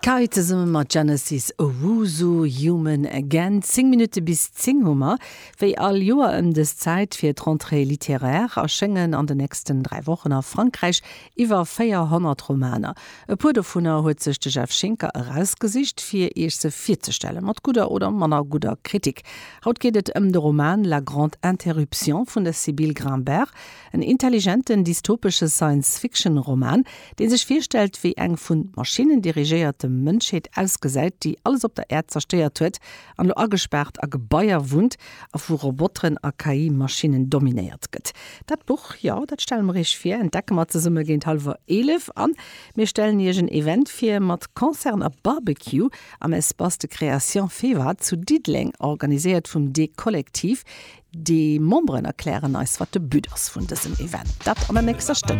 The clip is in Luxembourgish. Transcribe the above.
Kai zesumme mat Genesis Owusu, Human Again. 10 Minutte bis 10 hu mer. Wéi all Joer ëm dës Zäit fir d'Rentrée littéraire erschéngen an den nächsten 3 Wochen a Frankräich iwwer 400 Romaner. E puer dovunner huet sech de Jeff Schinker erausgesicht, fir Iech se virzestellen, mat gudder oder manner gudder Kritik. Haut geet et ëm de Roman La Grande Interruption vun der Sybille Grimbert, en intelligenten dystopesche Science-Fiction-Roman, dee sech virstellt, wéi eng vun Maschinnen dirigéierte Mënschheet ausgesäit, déi alles op der Äerd zerstéiert huet an elo agespaart a Gebaier wunnt a vu Roboteren a KI-Maschinnen dominéiert gëtt. Dat Buch, jo, dat stelle mer iech vir, entdecke mer zesumme géint hallwer 11 an mir stellen iech en Event vir mat Concerten a Barbecue am Espace de Création Feva zu Diddeleng, organiséiert vum D-Kollektiv. Déi Memberen erklären eis, wat de But ass vun dësem Event. Dat an der nächster Stënn.